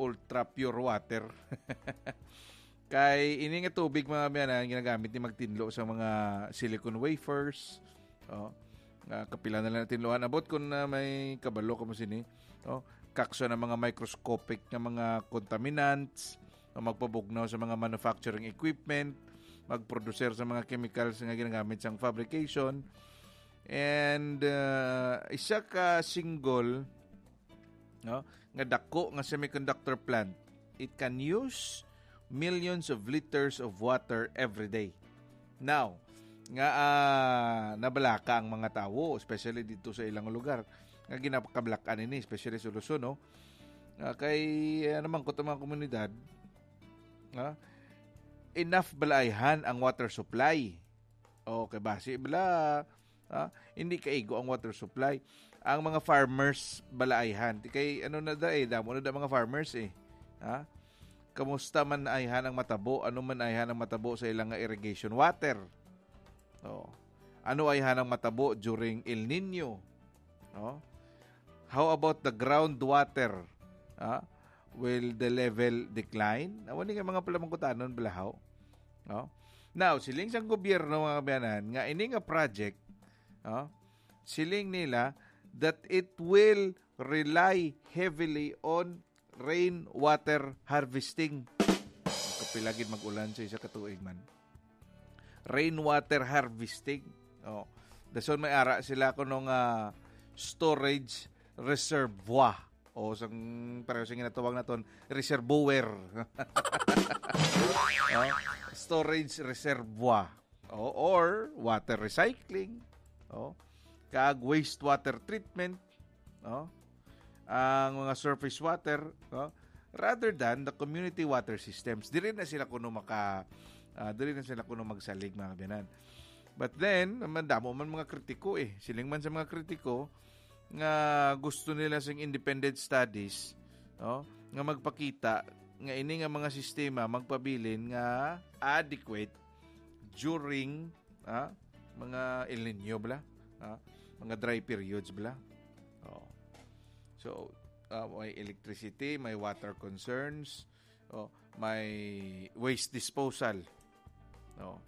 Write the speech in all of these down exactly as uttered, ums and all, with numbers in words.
ultra pure water. Kay ini nga tubig, mga biyanan, ginagamit ni magtinlo sa mga silicone wafers. Oh, nga kapila na lang tinluhan. Abot kung na may kabalo ka mo sini. Oh, kakso na mga microscopic nga mga contaminants, o magpabugnaw sa mga manufacturing equipment, magproducer sa mga chemicals nga ginagamit sang fabrication. And, uh, isa ka single, no, nga dako nga semiconductor plant, it can use millions of liters of water every day. Now, nga, ah, nabalaka ang mga tawo, especially dito sa ilang lugar, nga ginapakablakan ini, especially sa Luzon, no? Ah, kay, ano man, kuto mga komunidad, ah, enough bala ayhan ang water supply? Okay, basi bala, ah, hindi kaigo ang water supply. Ang mga farmers bala ayhan. Di kay, ano na da eh, damo na da mga farmers eh. Ha? Kamusta man ayhan ang matabo? Ano man ayhan ang matabo sa ilang nga irrigation water? Oh. Ano ayhan ang matabo during El Nino? Oh. How about the groundwater? Ah, will the level decline? Awan ni nga mga palamangkutanon, balahaw. No? Now, siling sang gobyerno, mga kabayanan, nga ini nga project, no, siling nila that it will rely heavily on rainwater harvesting. Kapila gid mag-ulan sa isa ka tuig man. Rainwater harvesting. Oh. Dason may ara sila kuno nga storage reservoir. O sang, pareho sa ginatawag naton, reservoir. Oh, storage reservoir. O, or water recycling. O, kag wastewater treatment. O, ang mga surface water, no? Rather than the community water systems. Diri na sila kuno maka, ah, diri na sila kuno magsalig, mga kabayanan. But then, madamo man mga kritiko eh. Siling man sa mga kritiko nga gusto nila sing independent studies, no? Nga magpakita nga ini nga mga sistema magpabilin nga adequate during, ah, mga El Nino bala, ah, mga dry periods bala. Oh. So, ah, may electricity, may water concerns, oh, may waste disposal. No?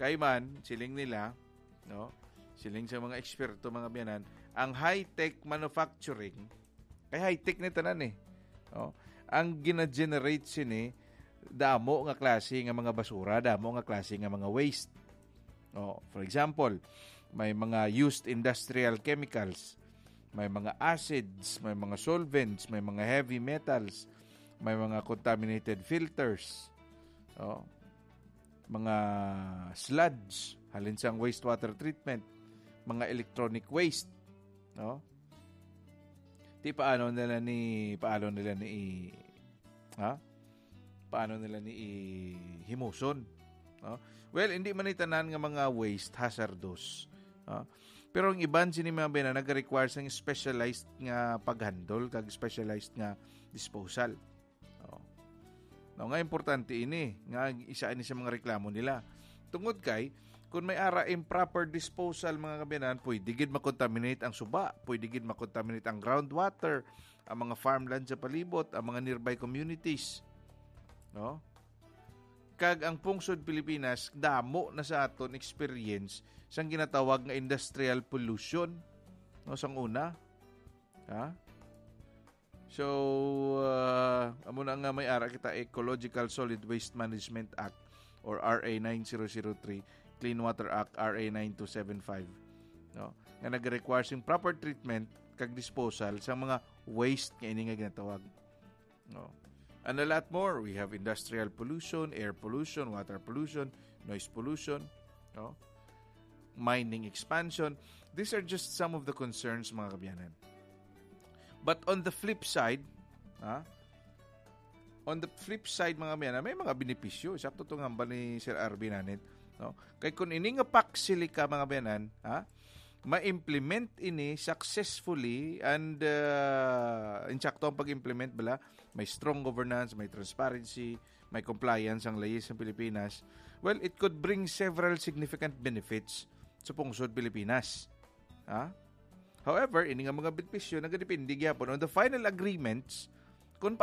Kay man, siling nila, no? Siling sa mga eksperto, mga biyanan, ang high-tech manufacturing, kay high-tech ni tanan eh. No? Ang gina-generate sini, damo nga klase nga mga basura, damo nga klase nga mga waste. Oh, for example, may mga used industrial chemicals, may mga acids, may mga solvents, may mga heavy metals, may mga contaminated filters, oh, mga sludge, halin sang wastewater treatment, mga electronic waste, no? Ti paano nila ni, paano nila ni i-, ha? Paano nila ni i-, himuson? No? Well, hindi man ni tanan nga mga waste hazardous. No? Pero ang iban sini, mga bena, nag-require sang specialized nga pag-handle kag specialized nga disposal. Oh. No, nga importante ini, nga isa ini sa mga reklamo nila. Tungod kay, kung may ara improper disposal, mga kabiyanan, pwede gid makontaminate ang suba, pwede gid makontaminate ang groundwater, ang mga farmland sa palibot, ang mga nearby communities. No? Kag ang pungsod Pilipinas, damo na sa aton experience sang ginatawag nga industrial pollution, no, sang una. Ha? So, uh, amo na nga may ara kita, Ecological Solid Waste Management Act or R A nine zero zero three, Clean Water Act, R A nine two seven five, no? Nga nag-require sing proper treatment kag disposal sa mga waste nga ini nga ginatawag. No? And a lot more. We have industrial pollution, air pollution, water pollution, noise pollution, no? Mining expansion. These are just some of the concerns, mga kabiyanan. But on the flip side, ha? On the flip side, mga kabiyanan, may mga benepisyo. Sakto to nga hambal ni Sir Arvin Anit, no? Kay kung ini nga Pax Silica, mga kabiyanan, ha? Ma-implement ini successfully and, uh, insakto ang pag-implement, bala, may strong governance, may transparency, may compliance ang leyes sa Pilipinas, well, it could bring several significant benefits sa pungsod Pilipinas. Ha? However, ini nga mga benepisyo nagadepende gyapon on the final agreements kung